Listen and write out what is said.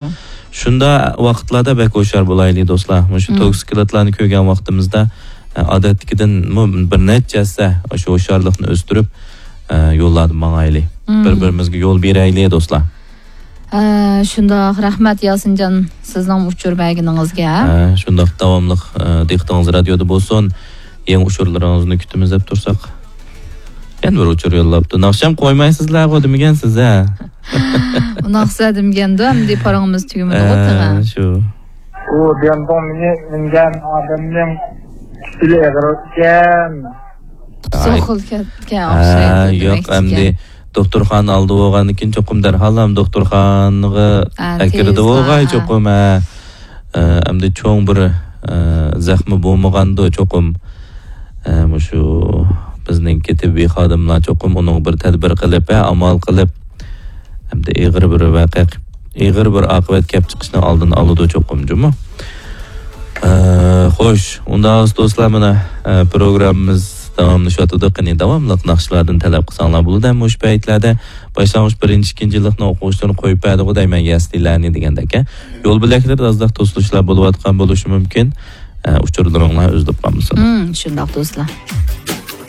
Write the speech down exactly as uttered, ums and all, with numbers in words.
شۇنداق ۋاقىتلاردا بەك ھوشيار بولايلى، دوستلار. مۇشۇ توكسىكلاتلارنى كۆرگەن ۋاقتىمىزدا، ئە، ئادەتتىكىدىنمۇ بىر نەچچە ھەسسە شۇ ھوشيارلىقنى ئۆستۈرۈپ، ئە، يوللاردا ماڭايلى. بىر-بىرىمىزگە يول بېرەيلى، دوستلار. ئە، شۇنداق، رەھمەت ياسىنجان، سىزنىڭ ئۇچۇر بەرگىنىڭىزگە. ئە، شۇنداق، داۋاملىق، ئە، دىققىتىڭىز رادىيودا بولسۇن. يېڭى ئۇچۇرلىرىڭىزنى كۈتىمىز دەپ تۇرساق. يەنە بىر ئۇچۇر يوللاپتۇ. ناخشام قويمايسىزلەرغۇ دېمىگەنسىز، ھە؟ ناخشا دېمىگەندۇ، ئەمدى پاراڭىمىز تۈگىمىدىغۇ، تېخى. شۇ. ئۇ دىيەندۇڭ مېنى مىنگەن ئادەمنىڭ كېسىلى ئېغىر ئىكەن. تۇتسا ئاي. ئوخۇل كەتكەن ھە، ئوخشايدۇ يوق، دېمەكچىكەن. ئەمدى دوختۇرخانا ئالدى بولغاندىن كېيىن چوقۇم دەرھال ھەم دوختۇرخانىغا ھە، ئەكىرىدىغۇ تېز، ھە. چوقۇم، ھە. ئە، ئەمدى چوڭ بىر، ئە، زەخمى بولمىغاندۇ چوقۇم. ئە، مۇشۇ بىزنىڭكى تېببىي خادىملار چوقۇم ئۇنىڭغا بىر تەدبىر قىلىپ، ھە، ئامال قىلىپ، ئەمدى ئېغىر بىر ۋەقە، ئېغىر بىر ئاقىۋەت كەپ چىقىشنىڭ ئالدىنى ئالىدۇ چوقۇم جۇمۇ. ئە، خوش، ئۇنداق دوستلار، مانا، ئە، پروگراممىمىز داۋاملىشىۋاتىدۇ. قېنى، داۋاملىق ناخشىلاردىن تەلەپ قىلساڭلار بولىدۇ. مۇشۇ پەيتلەردە باشلانغۇچ بىرىنچى، ئىككىنچى يىللىقنىڭ ئوقۇغۇچىلىرىنى قويۇپ بەردىغۇ دەيمەن، يەسلىلەرنى دېگەندەك. يول بۆلەكلىرىدە ئازراق توسۇلۇشلار بولۇۋاتقان بولۇشى مۇمكىن. ئە، ئۇچۇرلىرىڭلار ئۈزۈلۈپ قالمىسۇن. شۇنداق، دوستلار.